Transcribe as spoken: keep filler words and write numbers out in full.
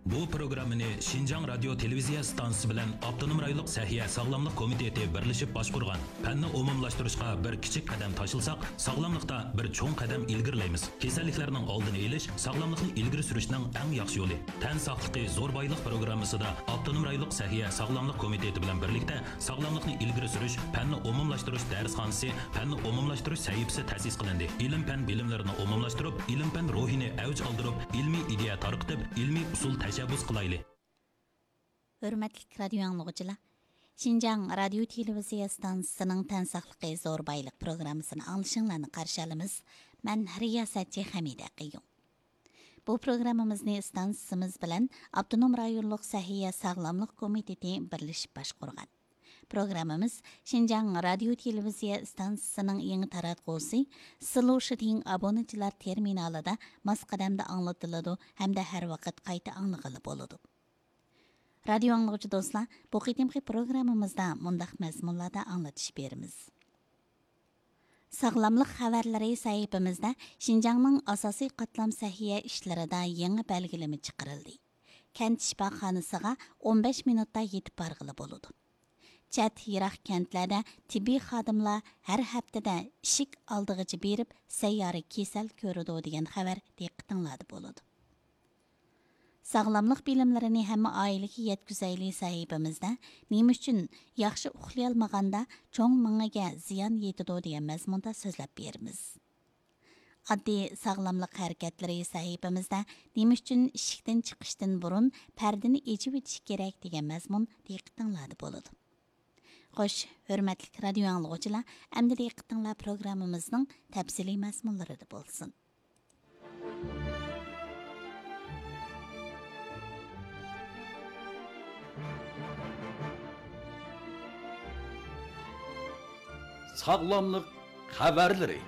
بۇ پروگراممىنى شىنجاڭ رادىيو تېلېۋىزىيە ئىستانسىسى بىلەن ئاپتونوم رايونلۇق سەھىيە ساغلاملىق كومىتېتى بىرلىشىپ باشقۇرغان. پەننى ئومۇملاشتۇرۇشقا بىر كىچىك قەدەم تاشلىساق، ساغلاملىقتا بىر چوڭ قەدەم ئىلگىرىلەيمىز. كېسەللىكلەرنىڭ ئالدىنى ئېلىش ساغلاملىقنى ئىلگىرى سۈرۈشنىڭ ئەڭ ياخشى يولى. تەن ساقلىقى زور بايلىق پروگراممىسىدا ئاپتونوم رايونلۇق سەھىيە ساغلاملىق كومىتېتى بىلەن بىرلىكتە ساغلاملىقنى ئىلگىرى سۈرۈش پەننى ئومۇملاشتۇرۇش دەرسخانىسى، پەننى ئومۇملاشتۇرۇش سەھىپىسى تەسىس قىلىندى. ئىلىم-پەن بىلىملىرىنى ئومۇملاشتۇرۇپ، ئىلىم-پەن روھىنى ئەۋج ئالدۇرۇپ، ئىلمىي ئىدىيە تارقىتىپ، ئىلمىي ئۇسۇل تەشەببۇس قىلايلى. ھۆرمەتلىك رادىيو ئاڭلىغۇچىلار، شىنجاڭ رادىيو تېلېۋىزىيە ئىستانسىسىنىڭ تەن ساقلىقى زور بايلىق پروگراممىسىنى ئاڭلىشىڭلارنى قارشى ئالىمىز. مەن رىياسەتچى خەمىدە قېيۇم. بۇ پروگراممىمىزنى ئىستانسىسىمىز بىلەن ئاپتونوم رايونلۇق سەھىيە ساغلاملىق كومىتېتى بىرلىشىپ باشقۇرغان. پروگراممىمىز شىنجاڭ رادىيو تېلېۋىزىيە ئىستانسىسىنىڭ يېڭى تاراتقۇسى سىلۇشىدىڭ ئابۇنىچىلار تېرمىنالىدا ماس قەدەمدە ئاڭلىتىلىدۇ ھەمدە ھەر ۋاقىت قايتا ئاڭلىغىلى بولىدۇ. رادىيو ئاڭلىغۇچى دوستلار، بۇ قېتىمقى پروگراممىمىزدا مۇنداق مەزمۇنلاردا ئاڭلىتىش بېرىمىز. ساغلاملىق خەۋەرلىرى سەھىپىمىزدە شىنجاڭنىڭ ئاساسىي قاتلام سەھىيە ئىشلىرىدا يېڭى بەلگىلىمە چىقىرىلدى. كەنت شىپاخانىسىغا ئون بەش مىنۇتتا يېتىپ بارغىلى بولىدۇ. چەت، يىراق كەنتلەردە تېببىي خادىملار ھەر ھەپتىدە ئىشىك ئالدىغىچە بېرىپ سەييارە كېسەل كۆرىدۇ دېگەن خەۋەر دىققىتىڭلاردا بولىدۇ. ساغلاملىق بىلىملىرىنى ھەممە ئائىلىگە يەتكۈزەيلى سەھىپىمىزدە نېمە ئۈچۈن ياخشى ئۇخلىيالمىغاندا چوڭ مېڭىگە زىيان يېتىدۇ دېگەن مەزمۇندا سۆزلەپ بېرىمىز. ئاددىي ساغلاملىق ھەرىكەتلىرى سەھىپىمىزدە نېمە ئۈچۈن ئىشىكتىن چىقىشتىن بۇرۇن پەردىنى ئېچىۋېتىش كېرەك دېگەن مەزمۇن دىققىتىڭلاردا بولىدۇ. خوش، ھۆرمەتلىك رادىيو ئاڭلىغۇچىلار، ئەمدى دىققىتىڭلار پروگراممىمىزنىڭ تەپسىلىي مەزمۇنلىرىدا بولسۇن. ساغلاملىق خەۋەرلىرى.